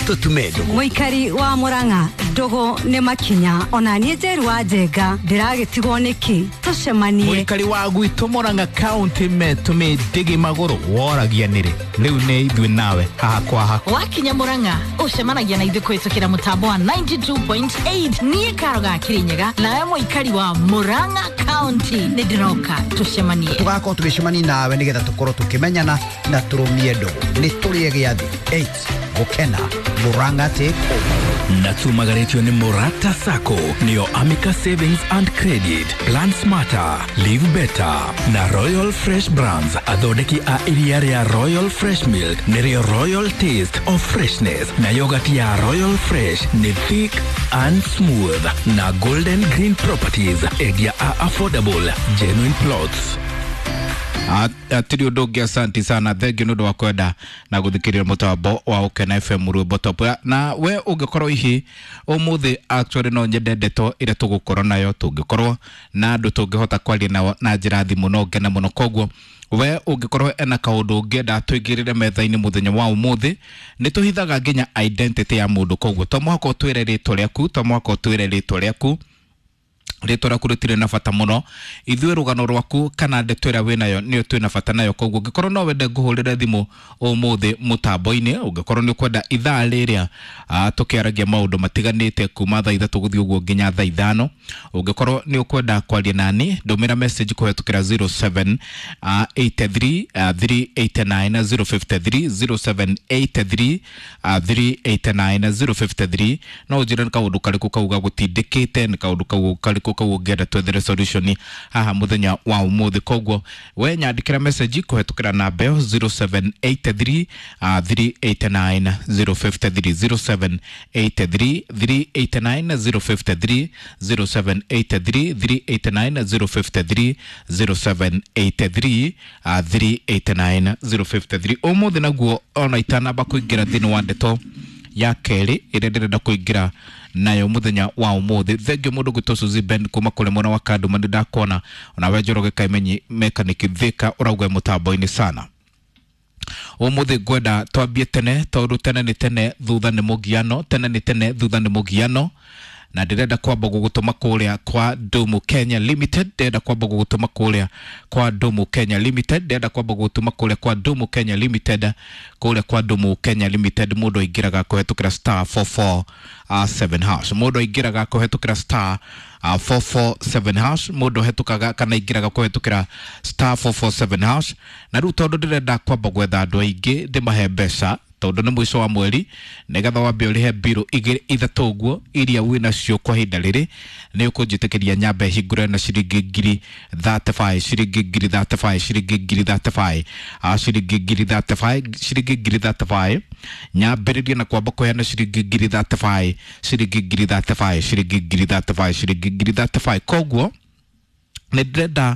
Tũtume ndũgũ. Mũikari wa Mũrang'a, ndũgũ nĩ makinya. Ona niĩ Njeru wa Njenga ndĩragĩtigwo nĩkĩ? Tũcemanie. Mũikari wa gwitũ Murang'a County metũmĩ ndĩgĩ magũrũ woragia nĩrĩ rĩu nĩ ithuĩ nawe haha kwa haha. Wakinya Murang'a ũcemanagia na ithuĩ kũhĩtũkĩra mũtambo wa 92.8. Niĩ Karo ga Kĩrĩnyaga, nawe mũikari wa Murang'a County, nĩ ndĩroka tũcemanie. Tũgakorwo tũgĩcemania nawe nĩgetha tũkorwo tũkĩmenyana na tũrũmie ndũgũ. Nĩ tũrĩe gĩathĩ 8 gũkena Murang'a take over. Na tumagaretio nĩ Morata Sacco, nĩyo Amica Savings and Credit, Plan Smarter, Live Better na Royal Fresh Brands, athondeki a iria rĩa Royal Fresh Milk nĩrĩo Royal Taste of Freshness, na yogati ya Royal Fresh nĩ thick and smooth, na Golden Green Properties, endia a affordable genuine plots. Atiri undu ungi, asanti sana, thengiũ nĩ ũndũ wa kwenda na gũthikĩrĩria mũtambo wa Ũkena FM rwĩmbo top. Na we ũngĩkorwo hihi ũmũthĩ, actually no nyende ndeto ĩrĩa tũgũkorwo nayo, tũngĩkorwo na andũ tũngĩhota kwaria nao na njĩra thimũ no ngene mũno. Koguo we ũngĩkorwo ena kaũndũ ũngĩenda tũingĩrĩre metha-inĩ mũthenya wa ũmũthĩ, nĩ tũhithaga nginya identity ya mũndũ, koguo to mũhaka ũtwĩre rĩtwa rĩaku, to mũhaka ũtwĩre rĩtwa rĩaku, rĩtwa rĩaku rĩtirĩ na bata mũno. Ithuĩ rũgano rwaku kana ndeto ĩrĩa wĩnayo nĩyo twĩna bata nayo. Koguo ũngĩkorwo no wende ngũhũrĩre thimũ ũmũthĩ mũtambo-inĩ, ũngĩkorwo nĩ ũkwenda ithaa rĩrĩa tũkĩaragia maũndũ matiganĩte kuma thaa 3 gũthiĩ ũguo nginya thaa 5, ũngĩkorwo nĩ ũkwenda kwaria nani, ndũmĩra message kũhetũkĩra 07 83 389 053, 0783 389 053. No ũnjĩre nĩ kaũndũ karĩkũ kau gagũtindĩkĩte, nĩ kaũndũ kau karĩkũ kau ũngĩenda twethere solution haha mũthenya wa ũmũthĩ. Koguo we nyandĩkĩra message kũhetũkĩra namba ĩyo 0783 389 053, 0783 389 053, 0783 389 053, 0783 389 053. Ũmũthĩ naguo ona itanamba kũingĩra thĩinĩ wa ndeto ya kerĩ ĩrĩa ndĩrenda kũingĩra nayo mũthenya wa ũmũthĩ, thengio mũndũ gwĩtwo Suzy Ben kuma kũrĩ mwena wa Kanduma, nĩ ndakona onawe Njoroge Kaimenyi mechanic Thika ũrauga mũtambo-inĩ sana. Ũmũthĩ ngwenda twambie tene tondũ tene nĩ tene thutha nĩ mũgiano, tene nĩ tene thutha nĩ mũgiano, na ndĩrenda kwamba gũgũtũma kũrĩa kwa Dumu Kenya Limited, ndĩrenda kwamba gũgũtũma kũrĩa kwa Dumu Kenya Limited, ndĩrenda kwamba gũgũtũma kũrĩa kwa Dumu Kenya Limited. Kũrĩa kwa Dumu Kenya Limited mũndũ aingĩraga kũhetũkĩra star 447 hash, mũndũ aingĩraga kũhetũkĩra star 447 hash, mũndũ hetũkaga kana aingĩraga kũhetũkĩra star 447 hash. Na rĩu tondũ ndĩrenda kwamba gwetha andũ aingĩ ndĩmahe mbeca tondũ nĩ mũico wa mweri, nĩgetha wambe ũrĩhe mbirũ igĩrĩ ithatũ ũguo iria wĩ nacio kwa ihinda rĩrĩ, nĩ ũkũnjĩtĩkĩria nyambe hingũre na ciringi ngiri 35, ciringi ngiri 35, ciringi ngiri 35, ciringi ngiri 35, ciringi ngiri 35. Nyambĩrĩrie na kwamba kũheana ciringi ngiri 35, ciringi ngiri 35, ciringi ngiri 35, ciringi ngiri 35. Koguo nĩ ndĩrenda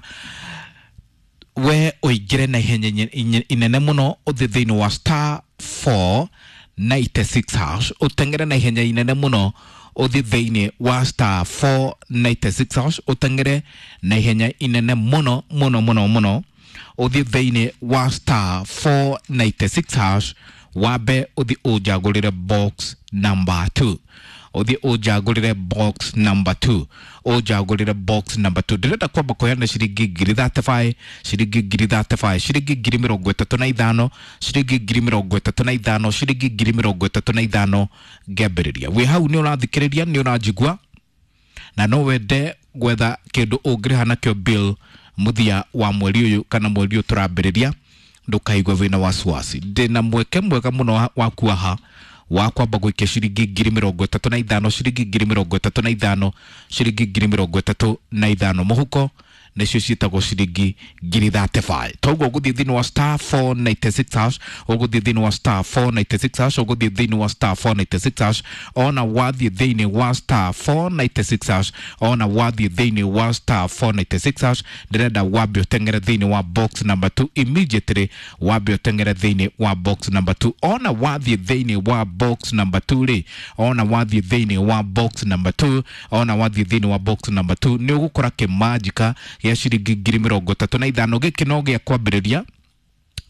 we ũingĩre na ihenya inene mũno, ũthiĩ thĩinĩ wa star 496 hash, ũteng'ere na ihenya inene mũno, ũthiĩ thĩinĩ wa star 496 hash, ũteng'ere na ihenya inene mũno mũno mũno mũno, ũthiĩ thĩinĩ wa star 496 hash, wambe ũthiĩ ũnjagũrĩre box number 2, ũthiĩ ũnjagũrĩre box number 2, ũnjagũrĩre box number 2. Ndĩrenda kwamba kũheana ciringi ngiri 35, ciringi ngiri 35, ciringi ngiri 35, ciringi ngiri 35, ciringi ngiri 35. Ngĩambĩrĩria wĩ hau nĩ ũrathikĩrĩria, nĩ ũranjigua, na no wende gwetha kĩndũ ũngĩrĩha nakĩo bill mũthia wa mweri ũyũ kana mweri ũyũ tũrambĩrĩria, ndũkaigua wĩna wasiwasi. Ndĩna mweke mwega mũno waku haha wa kwamba gũikia ciringi ngiri 35, ciringi ngiri 35, ciringi ngiri 35 mũhuko, nĩcio ciĩtagwo ciringi ngiri 35. Toguo ũgũthiĩ thĩinĩ wa star 496 hash, ũgũthiĩ thĩinĩ wa star 496 hash, ũgũthiĩ thĩinĩ wa star 496 hash. Ona wathiĩ thĩinĩ wa star 496 hash, ona wathiĩ thĩinĩ wa star 496 hash, ndĩrenda wambe ũteng'ere thĩinĩ wa box number 2 immediately, wambe ũteng'ere thĩinĩ wa box number 2. Ona wathiĩ thĩinĩ wa box number 2 rĩ, ona wathiĩ thĩinĩ wa box number 2, ona wathiĩ thĩinĩ wa box number 2, nĩ ũgũkora kĩmanjika gĩa ciringi ngiri 35. Gĩkĩ no gĩa kwambĩrĩria.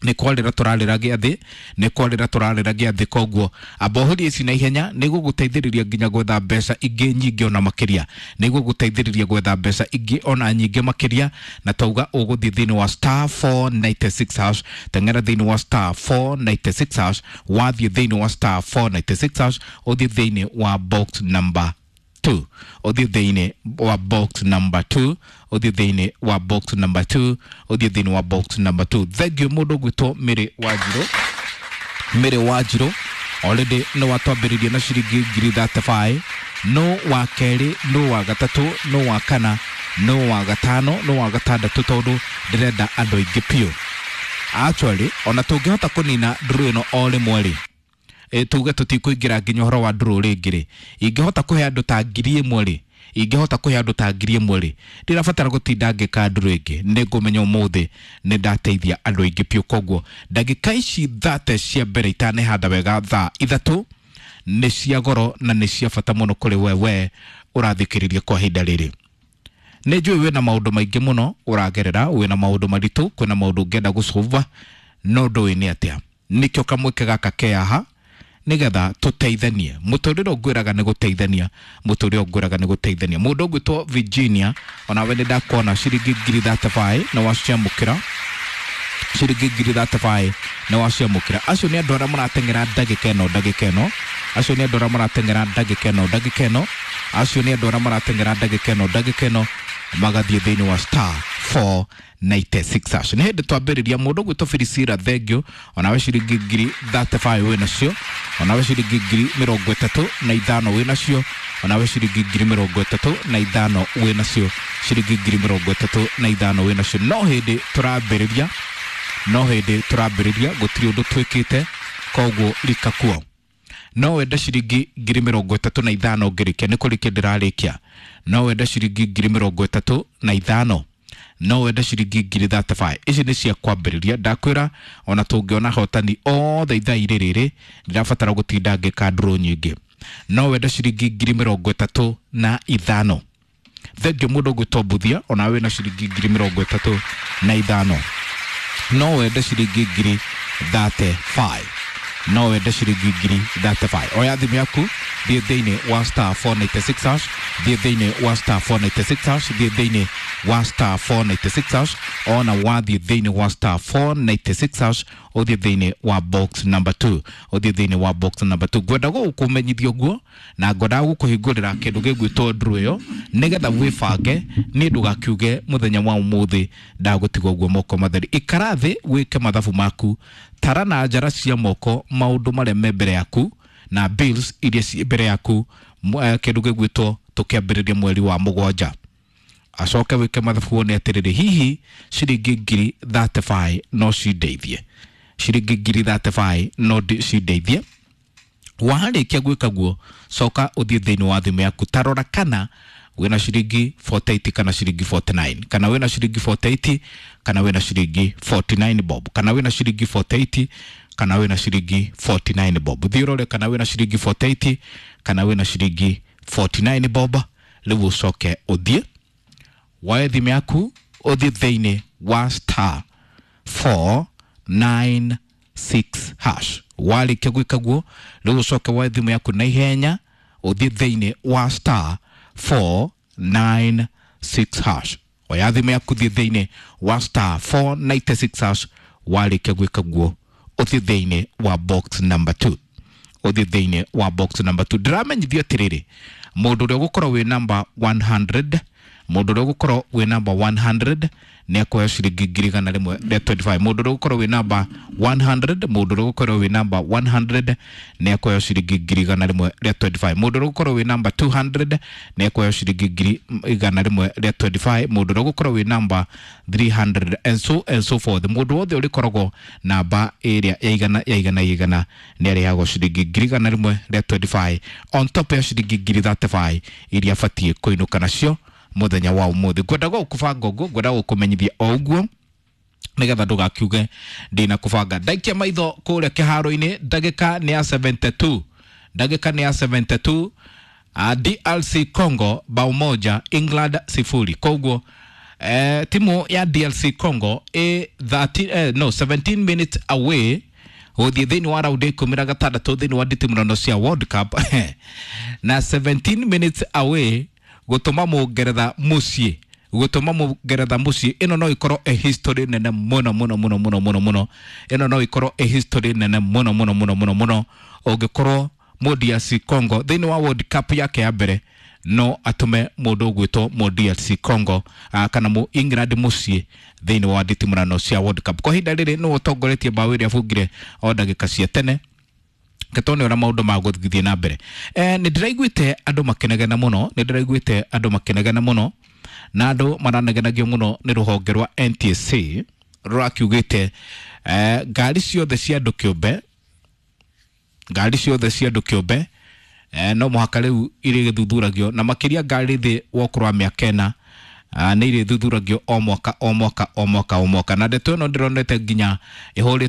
Nĩ kwarĩra tũrarĩra gĩathĩ, nĩ kwarĩra tũrarĩra gĩathĩ. Koguo amba ũhũrie ici na ihenya, nĩ gũgũteithĩrĩria nginya gwetha mbeca ingĩ nyingĩ ona makĩria, nĩ gũgũteithĩrĩria gwetha mbeca ingĩ ona nyingĩ makĩria. Na tauga ũgũthiĩ thĩinĩ wa star 496 hash. Teng'era thĩinĩ wa star 496 hash. Wathiĩ thĩinĩ wa star 496 hash, ũthiĩ thĩinĩ wa box number 2, ũthiĩ thĩinĩ wa box number 2, ũthiĩ thĩinĩ wa box number 2, ũthiĩ thĩinĩ wa box number 2. Thank you mũndũ ũgwĩtwo Mĩrĩ Wanjirũ. Mĩrĩ Wanjirũ already nĩ watwambĩrĩria na ciringi 35,000. No wa kerĩ, no wa gatatũ, no wa kana, no wa gatano, no wa gatandatũ, tondũ ndĩrenda andũ aingĩ biũ. Actually, ona tũngĩhota kũnina ndũrũ ĩno o rĩmwe rĩ, tuge tũtikũingĩra nginya ũhoro wa ndũrũ rĩngĩ rĩ, ingĩhota kũhe andũ ta 1,000 rĩ, ingĩhota kũhe andũ ta 1,000 rĩ, ndirabatara gũtinda ngĩka ndũrũ ĩngĩ. Nĩ ngũmenya ũmũthĩ nĩ ndateithia andũ aingĩ biũ. Koguo ndagĩka ici 30 cia mbere itanehanda wega thaa 3 nĩ cia goro na nĩ cia bata mũno kũrĩ wewe ũrathikĩrĩria kwa ihinda rĩrĩ. Nĩ njũĩ wĩna maũndũ maingĩ mũno ũragerera, wĩna maũndũ maritũ, kwĩna maũndũ ũngĩenda gũcũva no ndũĩ nĩ atĩa. Nĩkĩo kamweke gaka ke haha nigetha tũteithanie. Mũtũrĩre ũngwĩraga nĩ gũteithania, mũtũrĩre ũngwĩraga nĩ gũteithania. Mũndũ ũgwĩtwo Virginia, onawe nĩ ndakuona, ciringi 35,000 nĩ waciamũkĩra, ciringi 35,000 nĩ waciamũkĩra. Acio nĩ andũ arĩa marateng'era ndagĩka ĩno, ndagĩka ĩno. Acio nĩ andũ arĩa marateng'era ndagĩka ĩno, ndagĩka ĩno. Acio nĩ andũ arĩa marateng'era ndagĩka ĩno, ndagĩka ĩno, magathiĩ thĩinĩ wa star 496 hash. Nĩ hĩndĩ twambĩrĩria. Mũndũ ũgwĩtwo Filisira, thengio, onawe ciringi 35,000 wĩ nacio, onawe ciringi 35,000 wĩ nacio, onawe ciringi 35,000 wĩ nacio, ciringi 35,000 wĩ nacio. No hĩndĩ tũrambĩrĩria, no hĩndĩ tũrambĩrĩria, gũtirĩ ũndũ twĩkĩte. Koguo rika kuo no wende ciringi 35,000 ngĩrĩkia, nĩ kũrĩkia ndĩrarĩkia. No wende ciringi 35,000, no wende ciringi 35,000. Ici nĩ cia kwambĩrĩria. Ndakwĩra ona tũngĩona hotani othe ithaa irĩ rĩrĩ, ndĩrabatara gũtinda ngĩka ndũrũ nyingĩ. No wende ciringi 35,000. Thengio mũndũ ũgwĩtwo Mbuthia, ona wĩna ciringi 35,000. No wende ciringi 35,000, no wende ciringi 35,000. Oya thimũ yaku, thiĩ thĩinĩ wa star 496 hash, thiĩ thĩinĩ wa star 496 hash, thiĩ thĩinĩ wa star 496 hash. Ona wathiĩ thĩinĩ wa star 496 hash, ũthiĩ thĩinĩ wa box number 2, ũthiĩ thĩinĩ wa box number 2. Ngwenda gũkũmenyithia ũguo na ngwendaga gũkũhingũrĩra kĩndũ gĩgwĩtwo ndũrũ ĩyo nĩgetha wĩbange. Niĩ ndũgakiuge mũthenya wa ũmũthĩ ndagũtiga ũguo moko matheri. Ikara thĩ wĩke mathabu maku, tara na njara cia moko maũndũ marĩa me mbere yaku na bills iria ciĩ mbere yaku, kĩndũ gĩgwĩtwo tũkĩambĩrĩria mweri wa mũgwanja. Acoke wĩke mathabu wone atĩrĩrĩ, hihi ciringi 35,000 no cindeithie, ciringi 35,000 no cindeithie. Warĩkia gwĩka guo, coka ũthiĩ thĩinĩ wa thimũ yaku, tarora kana wĩna ciringi 48 kana ciringi 49, kana wĩna ciringi 48 kana wĩna ciringi 49 bob, kana wĩna ciringi 48 kana wĩna ciringi 49 bob. Thiĩ ũrore kana wĩna ciringi 48 kana wĩna ciringi 49 bob. Rĩu ũcoke ũthiĩ woe thimũ yaku, ũthiĩ thĩinĩ wa star 496 hash. Warĩkia gwĩka guo, rĩu ũcoke woe thimũ yaku na ihenya, ũthiĩ thĩinĩ wa star 496 hash. Oya thimũ yaku, thiĩ thĩinĩ wa star 496 hash. Warĩkia gwĩka guo, ũthiĩ thĩinĩ wa box number 2, ũthiĩ thĩinĩ wa box number 2. Ndĩramenyithio atĩrĩrĩ, mũndũ ũrĩa ũgũkorwo wĩ namba 100, mũndũ ũrĩa ũgũkorwo wĩ namba 100 nĩ akuoya ciringi 125,000. Mũndũ ũrĩa ũgũkorwo wĩ namba 100, mũndũ ũrĩa ũgũkorwo wĩ namba 100 nĩ akuoya ciringi 125,000. Mũndũ ũrĩa ũgũkorwo wĩ namba 200 nĩ akuoya ciringi 125,000. Mũndũ ũrĩa ũgũkorwo wĩ namba 300 and so forth. Mũndũ wothe ũrĩkoragwo namba ĩrĩa ya igana ya igana ya igana nĩ arĩhagwo ciringi 125,000 on top ya ciringi 35,000 iria abatiĩ kũinũka nacio mũthenya wa ũmũthĩ. Ngwenda gũkũbanga ũguo, ngwenda gũkũmenyithia o ũguo nigetha ndũgakiuge ndina kũbanga. Ndaikia maitho kũrĩa kĩharo-inĩ, ndagĩka nĩ ya 72, ndagĩka nĩ ya 72. DRC Congo bao 1, England 0. Koguo Timu ya DRC Congo ĩ 30, no 17 minutes away gũthiĩ thĩinĩ wa raundi 16 thĩinĩ wa nditimũrano cia World Cup, na 17 minutes away gũtũma mũngeretha mũciĩ, gũtũma mũngeretha mũciĩ. Ĩno no ĩkorwo ĩ history nene mũno mũno mũno mũno mũno mũno. Ĩno no ĩkorwo ĩ history nene mũno mũno mũno mũno mũno ũngĩkorwo mũ DRC Congo thĩinĩ wa World Cup yake ya mbere no atũme mũndũ ũgwĩtwo mũ DRC Congo kana mũ England mũciĩ thĩinĩ wa nditimũrano cia World Cup. Kwa ihinda rĩrĩ nĩwe ũtongoretie mbaũ ĩrĩa abungire o ndagĩka cia tene. Ketone ũrĩa maũndũ magũthiĩ na mbere. Nĩ ndĩraiguĩte andũ makĩnegena mũno, nĩ ndĩraiguĩte andũ makĩnegena mũno, na andũ maranegenagio mũno nĩ rũhonge rwa NTSA rũrakiugĩte ngari ciothe cia andũ kĩũmbe, ngari ciothe cia andũ kĩũmbe no mũhaka rĩu irĩgĩthuthuragio, na makĩria ngari thĩ wa ũkũrũ wa mĩaka 4 nĩ irĩthuthuragio o mwaka o mwaka o mwaka o mwaka. Na ndeto ĩno ndĩronete nginya ĩhũrĩtwo